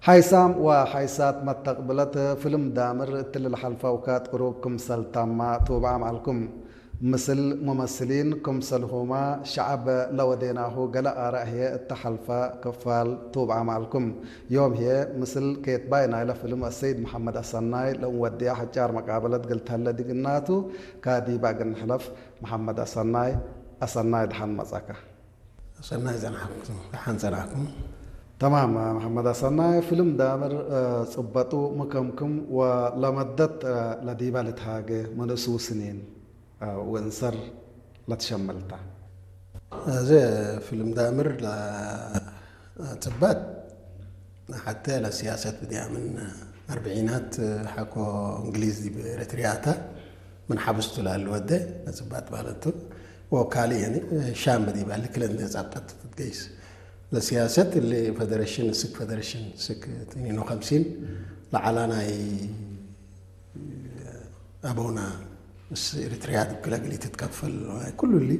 ሓይሳም ወሓይሳት መተቕብለት ፍልም ዳምር እትልል ሓልፋውካት ቅሩብ ክምሰል ታማ ትውብዓ መዓልኩም። ምስል ሙመስሊን ክምሰልሁማ ሸዓብ ለወዴናሁ ገለ ኣራእየ እተሓልፋ ክፋል ትውብዓ መዓልኩም። ዮም ህየ ምስል ኬትባይ ናይለ ፍልም ኣሰይድ መሓመድ ኣሰናይ ለእንወድያ ሓጫር መቃበለት ግልተለ ድግናቱ ካዲባ ግንሕለፍ። መሓመድ ኣሰናይ፣ ኣሰናይ ደሓን መጻካ። ሰናይ ጸናሕኩም፣ ደሓን ጸናሕኩም። ተማም መሓመድ ኣሰናይ፣ ፍልም ዳምር ጽበጡ ምከምክም ወለመደት ለዲባ ልትሃገ መንእሱ ስኒን ወእንሰር ለትሸመልታ። እዚ ፍልም ዳምር ጽበት ሓተ ለሲያሰት ብድያምን ኣርብዒናት ሓኮ እንግሊዝ ዲብ ኤርትሪያታ ምን ሓብስቱ ላሉ ወደ ነጽባት ማለቱ ወካሊ የኒ ሻም በዲባ ልክለ እንደ ጻብጣት ትትገይስ ለሲያሰት ል ፌደሬሽን ስክ ፌደሬሽን ስክ ትኒኖ ከምሲን ለዓላ ናይ ኣበውና ምስ ኤርትሪያ ትብክለ ግሊ ትትከፈል ኩሉ ሊ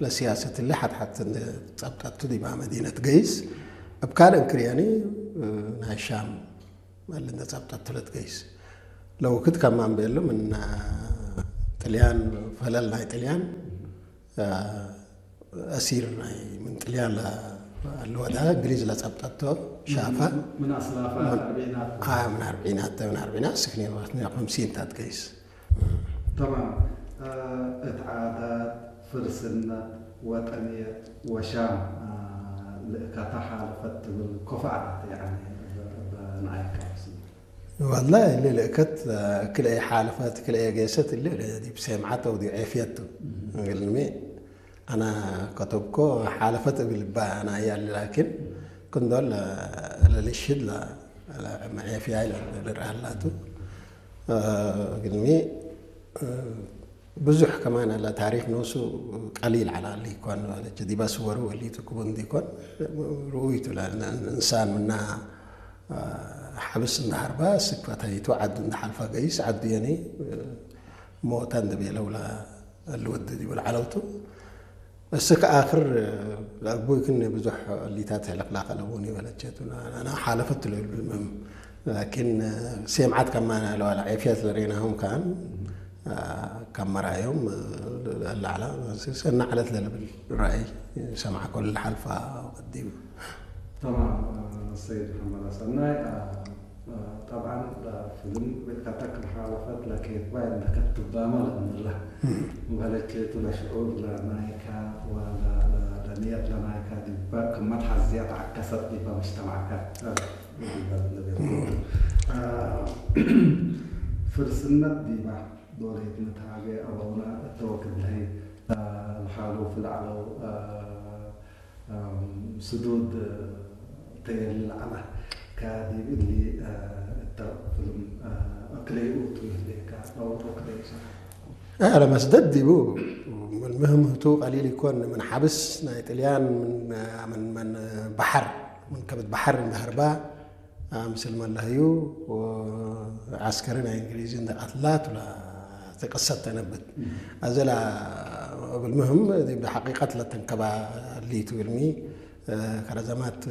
ለሲያሰት ል ሓት ሓት እንደ ጻብጣቱ ዲባ መዲነት ገይስ እብ ካልእ እንክርያኒ ናይ ሻም መል እንደ ጻብጣቱ ለትገይስ ለውክት ከማን ቤሉ ምን ጥልያን ፈለል ናይ ጥልያን ኣሲር ናይ ምን ጥልያን ለወዳ እንግሊዝ ለጸብጠቶ ሻፋ ምን ኣስላፋ ኣርቢዒናት ምን ኣርቢዒናት ምን ኣርቢዒናት ስክኔ ወቅት ምን ከምሲን ታትገይስ ተማም እት ዓዳት ፍርስነት ወጠንየት ወሻም ልእካታ ሓለፈት ትብል ኮፋዕት ያኒ በናይካ والله اللي لقت كل اي حالفت كل اي قيست اللي دي بسمعته ودي عافيته قال لي انا كتبكو حالفت بالبا انا يا لكن كندول للشد لا معافيه للرهلاتو قال لي ብዙሕ ከማን ኣላ ታሪክ ነሱ ቀሊል ዓላሊ ይኮን ማለት ዲባ ስወሩ ወሊቱ ክቡን ዲኮን ርኡይቱ እንሳን ምና ሓብስ እንዳሃርባ ስክፈታይቱ ዓዱ እንዳሓልፋ ገይስ ዓዱ የኒ ሞታ እንደቤለውላ ልወድ ዲብል ዓለውቱ እስከ ኣክር ለአቦይ ክን ብዙሕ ሊታት ሕለቅላቀ ለቡን ይበለቸቱ ና ሓለፈት ለብል ምም ላኪን ሴምዓት ከማና ለዋላ ዔፍያት ለሬናሁም ካን ካብ መራዮም ለዓላ ሰና ዓለት ለልብል ራእይ ሰምዓ ኮል ሓልፋ ቀዲም تمام سيد محمد ሰናይ طبعا ፍልም ቤትካታ ክም ሓለፈት ለኬት ባይ እንደ ከትባማ ለምላ በለኬቱ ለሽዑር ለናይካ ወለንየት ለናይካ ዲባ ክመት ሓዝያ ተዓከሰት ዲባ መጅተማዕካ ፍርስነት ዲባ ዶሌት ንትሃገ ኣበውና እተወክድ ለሀይ ለሓሉ ፍልዓለው ስዱድ ተየሊ ለዓላ ካዲብ እሊ እተ ፍልም እክለይ ኡቱ ይህሌካ ኣውሮ ክለይ ሰ ለመስደድ ዲቡ ምህምህቱ ቀሊል ይኮን ምን ሓብስ ናይ ጥልያን ምን ባሕር ምን ከብት ባሕር እንዳህርባ ምስል መላህዩ ዓስከሪ ናይ እንግሊዝ እንደ ቀትላት ተቀሰት ተነብት ኣዘላ እብል ምህም ብሓቂቀት ለተንከባ ሊቱ እልሚ ከረዘማት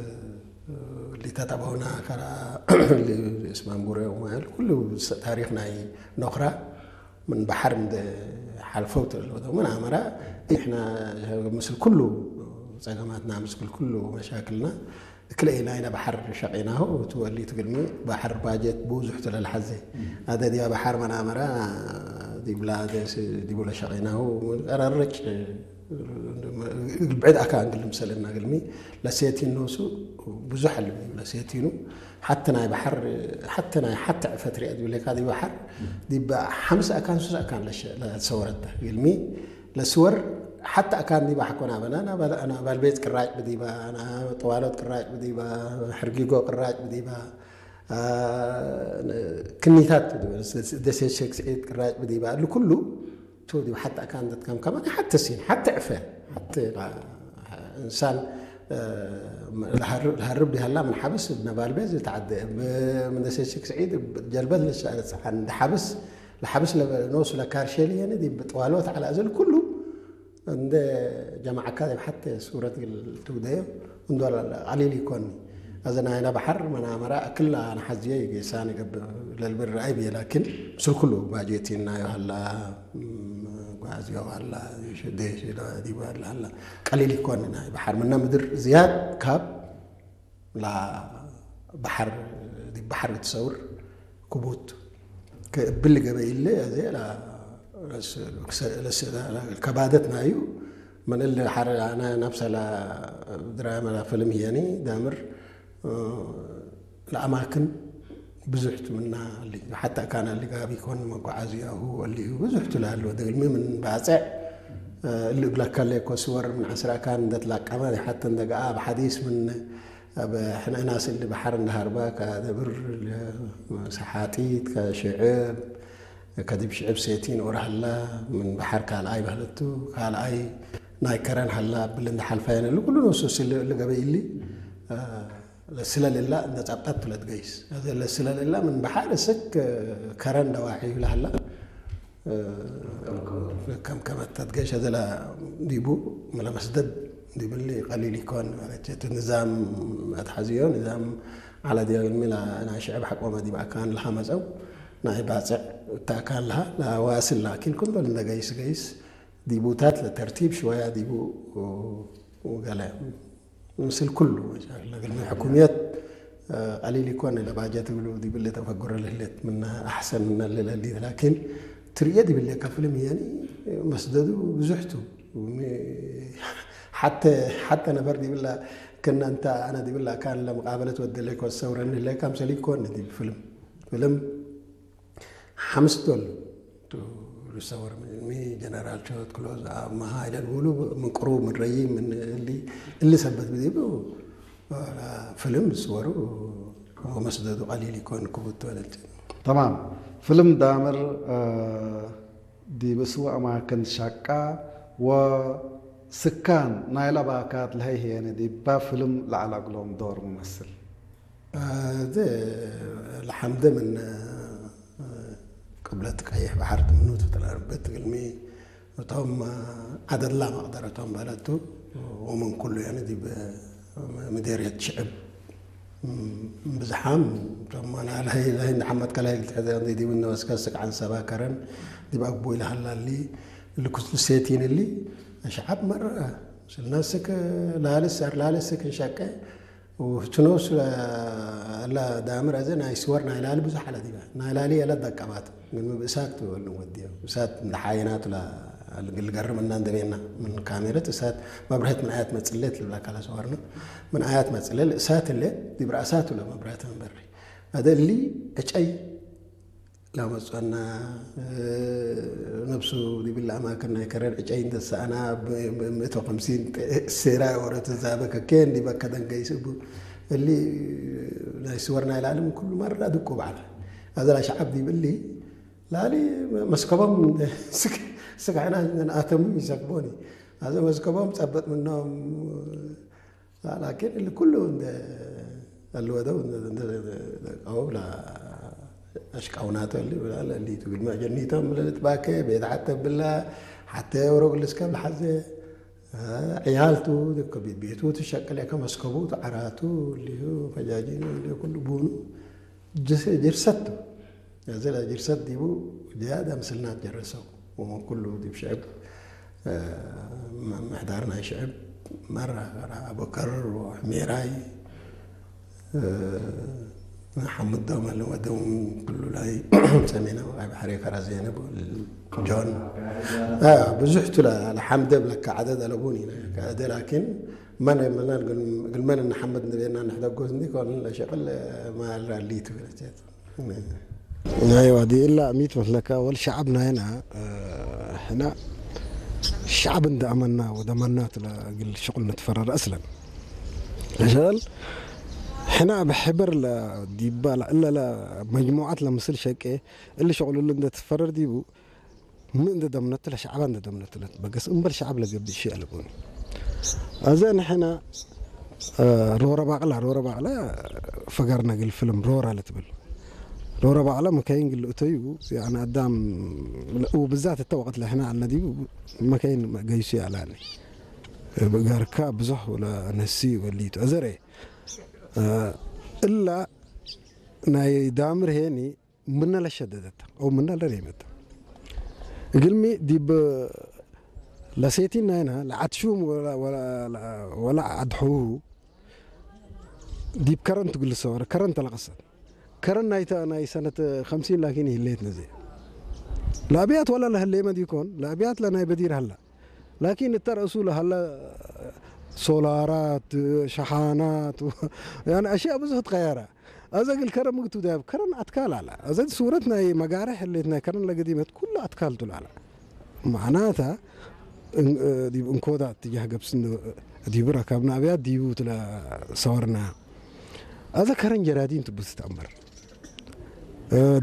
ሊታት ኣባውና ከራ እስማንቡረ ኩሉ ታሪክ ናይ ኖክራ ምን ባሕር እንደ ሓልፈው ተለወ ምን ኣመራ ንሕና ምስል ኩሉ ጸገማትና ምስል ኩሉ መሻክልና ክልኤ ናይና ባሕር ሸቂናሁ ትወሊ ትግልሚ ባሕር ባጀት ብዙሕ ትለልሓዘ ኣደ ዲያ ባሕር መናመራ ዲብላ ዲቡለ ሸቂናሁ ቀረርጭ ብዕድ ኣካ እንግል ምሰልና ግልሚ ለሴቲን ነሱ ብዙሕ ኣለ ለሴቲኑ ሓቲ ናይ ባሕር ሓቲ ናይ ሓቲ ዕፈት ሪአ ዲብለካ ዲ ባሕር ዲባ ሓምስ ኣካን ሱስ ኣካን ለሰወረታ ግልሚ ለስወር ሓታ ኣካን ዲባ ሓኮና በና ናባልቤት ቅራጭ ብዲባ ጠዋሎት ቅራጭ ብዲባ ሕርጊጎ ቅራጭ ብዲባ ክኒታት ደሴት ሸክስዒት ቅራጭ ብዲባ እሉ ኩሉ ቱ ዲባ ሓታ ኣካን ደትከም ከማን ሓተ ሲን ሓተ ዕፈ ሓተ እንሳን ለሃርብ ዲሃላ ምን ሓብስ ነባልቤት ዝተዓደ ምን ደሴት ሸክስዒት ጀልበት ለሻለት ሓብስ ለሓብስ ኖሱ ለካርሸሊ የኒ ዲብ ጥዋሎት ዓላ እዘል ኩሉ እንደ ጀማዓካ ዲብ ሓተ ሱረት ግል ትውደዮ እንዶ ቀሊል ይኮኒ እዚ ናይና ባሕር መናመራ ክላ ንሓዝዮ ይጌሳ ንገብር ለልብር ራይ ብየ ላኪን ምስል ኩሉ ባጀት ናዮ ሃላ ጓዝዮ ሃላ ሽደሽ ዲባል ሃላ ቀሊል ይኮን ናይ ባሕር ምና ምድር ዝያድ ካብ ላ ባሕር ዲ ባሕር ክትሰውር ክቡት ክብል ገበ ኢለ እዚ ከባደት ናዩ መለል ሓደ ኣነ ናብ ሰላ ድራማ ፊልም ህየኒ ዳምር ለኣማክን ብዙሕ ትምና ኣሊ ሓታ ካና ልጋቢ ኮን መጓዓዝያሁ ኣሊዩ ብዙሕ ትላሉ ደግልሚ ምን ባፅዕ እሊ እብለካ ለኮ ስወር ምን ዓስራ ካን እንደትላቀመ ሓተ እንደገኣ ኣብ ሓዲስ ምን ኣብ ሕንዕና ስእሊ ባሕር እንዳሃርባ ከደብር ሰሓጢት ከሽዕብ ከዲብ ሽዕብ ሴቲን ኦራህላ ምን ባሕር ካልኣይ ባህለቱ ካልኣይ ናይ ከረን ሃላ ብል እንዳሓልፋ የነሉ ኩሉ ነሱ ስሊ እሊ ገበይ እሊ ለስለልላ እንደ ጻብጣት ትለት ገይስ ለስለልላ ምን ባሕር ስክ ከረን ደዋሒ ይብላህላ ከም ከመተት ገይሽ ዘላ ዲቡ መለመስደድ ዲብሊ ቀሊል ይኮን ማለት እቲ ንዛም ኣትሓዝዮ ንዛም ዓላ ዲዮ ሚላ ናይ ሽዕብ ሓቆመ ዲብ ኣካን ለሃመፀው ናይ ባፅዕ እታ ኣካን ለሃ ለዋስል ላኪን ኩንበል እንደ ገይስ ገይስ ዲቡታት ለተርቲብ ሽወያ ዲቡ ገለ ምስል ኩሉ መሻክል ለግል ሕኩምየት ቀሊል ይኮን ለባጀት ብሉ ዲብል ተፈጉረ ልህለት ምና ኣሕሰን ምና ለለሊ ላኪን ትርእየ ዲብል ከፍልም የኒ መስደዱ ብዙሕቱ ሓተ ሓተ ነበር ዲብላ ክና እንተ ኣነ ዲብላ ካን ለመቃበለት ወደለ ኮሰውረኒ ለካም ሰሊኮን ዲብ ፍልም ፍልም ሓምስ ዶል ሪሰወር ሚ ጀነራል ቸወት ክሎዝ ኣብ መሃ ኢለ ንብሉ ምን ቅሩብ ምን ረይ ምን እሊ እሊ ሰበት ብዚቡ ፍልም ዝስወሩ መስደዱ ቀሊል ይኮን ክቡት ወለልቲ። ተማም ፍልም ዳምር ዲብ እስዋ ኣማክን ሻቃ ወስካን ናይ ለባካት ለሀይሄነ ዲባ ፍልም ለዓላግሎም ዶር ምመስል። እዚ ለሓምደ ምን ቅብለት ቀይሕ ባሕር ትምኑ ትተላርበት ግልሚ እቶም ዓደላ መቕደረቶም በለቱ ወምን ኩሉ ያነ ዲብ ምዴርየት ሽዕብ ብዝሓም እቶም ናይ ንሓመድ ከላይ ትሕዘ ዲብ እነወስከ ስቅዓን ሰባ ከረን ዲብ ኣግቦ ኢለ ሃላሊ ልኩስ ሴቲን እሊ ሸዓብ መረ ስልናስክ ላልስ ኣር ላልስክ ንሸቀ ውህትኖስ ኣላ ዳምር ኣዘ ናይ ስወር ናይ ላሊ ብዙሕ ኣላ ዲባ ናይ ላሊ ኣላ ደቀባት ግን ምብእሳት ትበሉ ወዲዮ እሳት እንደ ሓየናቱ ልገርም እና እንደቤና ምን ካሜረት እሳት መብርሀት ምን ኣያት መጽለት ልብላ ካላ ስወርና ምን ኣያት መጽለል እሳት ለ ዲብራ እሳት ለ መብርሀት መንበሪ ኣደ እሊ ዕጨይ ላመፅና ነብሱ ዲብል ኣማክን ናይ ከረን ዕጨይ እንተሰኣና ምእቶ ከምሲን ሴራ ወረ ተዛበ ከከን ዲበ ከደንገ ይስቡ እሊ ናይ ስወር ናይ ላዕሊ ምን ኩሉ መራ ድቁ በዓል ኣዘላ ሸዓብ ዲብሊ ላሊ መስከቦም ስጋዕና ንኣተሙ ይሰክቦኒ ኣዘ መስከቦም ጸበጥ ምኖም ላኪን ኩሉ እንደ الوضع أو لا أشقاونات اللي ولا اللي تقول ما جنيتهم للتباكي بيت حتى بالله حتى يورق الاسكاب لحزة عيالته ذكر بيت بيته تشكل كما سكبوت عراته اللي هو فجاجين اللي كل بونو ጅርሰት ቱ። እዚ ጅርሰት ዲቡ ዝያዳ ምስልናት ጀረሰው። ወመን ኩሉ ዲብ ሽዕብ ምሕዳር ናይ ሽዕብ መራ ኣበከር ወሕሜራይ ሓሙዶ መለወደው ኩሉ ላይ ሰሜናዊ ቀይ ባሕሪ ከራ ዜነብ ጆን ብዙሕ ቱ ለሓምደ ብለካ ዓደድ ኣለቡን ኢና ከደ ላኪን መን መናን ግልመን ንሓመድ ንቤና ንሕደጎስ እንዲ ኮን ለሸቅል ማል ራሊ ትብለቸት ኣይዋ ዲእላ ሚት መስለካ ወል ሸዓብ ናይና ሕና ሸዓብ እንደ ኣመና ወደ መናት ለግል ሽቁል ንትፈረር ኣስለን ለሸቅል ሕና ብሕበር ለዲባ እለ መጅሙዓት ለምስል ሸቄ እሊ ሽቁል እሉ እንደ ትፈረር ዲቡ ምን እንደ ደምነትለ ሸዓባ እንደ ደምነትለ በገስ እምበል ሸዓብ ለገብእ ሺ ኣለቦኒ። ኣዘ ንሕና ሮረ ባቅላ ሮረ ባቅላ ፈገር ነግል ፍልም ሮራ ለትብል ሮረ ባቅላ መካይን ግል እተዩ ያኒ ኣዳም ብዛት እተ ወቅት ለሕና ኣልነዲቡ መካይን ገይሱ ያላኒ ገርካ ብዙሕ ወላ ነሲ ወሊቱ ኣዘረ እላ ናይ ዳምር ሄኒ ምና ለሸደደት ኦ ምና ለሬመት እግልሚ ዲብ ለሴቲን ናይና ለዓትሹም ወላ ዓድሑ ዲብ ከረን ትግልሰ ወረ ከረን ተለቀሰት ከረን ናይታ ናይ ሰነት ከምሲን ላኪን ይህሌት ነዚ ለኣብያት ወላ ለህሌመ ዲኮን ለኣብያት ለናይ በዲር ሃላ ላኪን እተ ረእሱ ለሃለ ሶላራት ሸሓናት ያኒ ኣሽያ ብዙሕ ትቀየረ። ኣዘ ግል ከረን ምግቱ ዳብ ከረን ኣትካል ኣላ። ኣዘ ሱረት ናይ መጋርሕ ህሌት ናይ ከረን ለገዲመት ኩሉ ኣትካል ቱል ኣላ። ማዕናታ ዲብ እንኮዳ ትጃህ ገብስን ዲብራ ካብ ናብያ ዲቡ ትለ ሰወርና። ኣዘ ከረን ጀራዲን ትብስ ተኣምር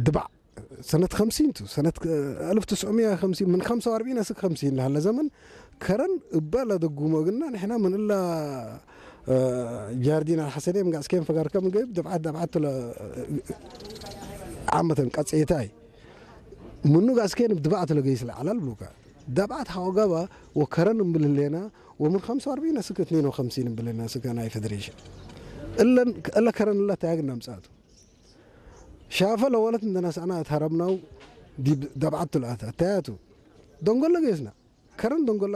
ድባዕ ሰነት ከምሲን ቱ ሰነት ኣልፍ ትስዑ ሚያ ከምሲን ምን ከምሳ ወኣርቢዒን ኣስክ ከምሲን ለሃለ ዘመን ከረን እባ ለደጉሞ ግና ንሕና ምን እላ ጃርዲን ኣልሓሰኔ ምጋስኬን ፈጋርከ ምገብ ደብዓት ደብዓት ለ ዓመተን ቀጽየታይ ምኑ ጋስኬን ብድባዕት ለገይስ ለዓላል ብሉካ ደብዓት ሓወጋባ ወከረን እምብል ህሌና ወምን ከምሳ ወኣርቢዒን ኣስክ እትኔን ወከምሲን እምብል ህሌና ስጋ ናይ ፌዴሬሽን እለን እለ ከረን እላ ታያግና ምጻቱ ሻፈ ለወለት እንደነሳእና እትሀረምናው ዲብ ደብዓቱ ለኣት ኣተያቱ ደንጎለ ጌስና ከረን ደንጎላ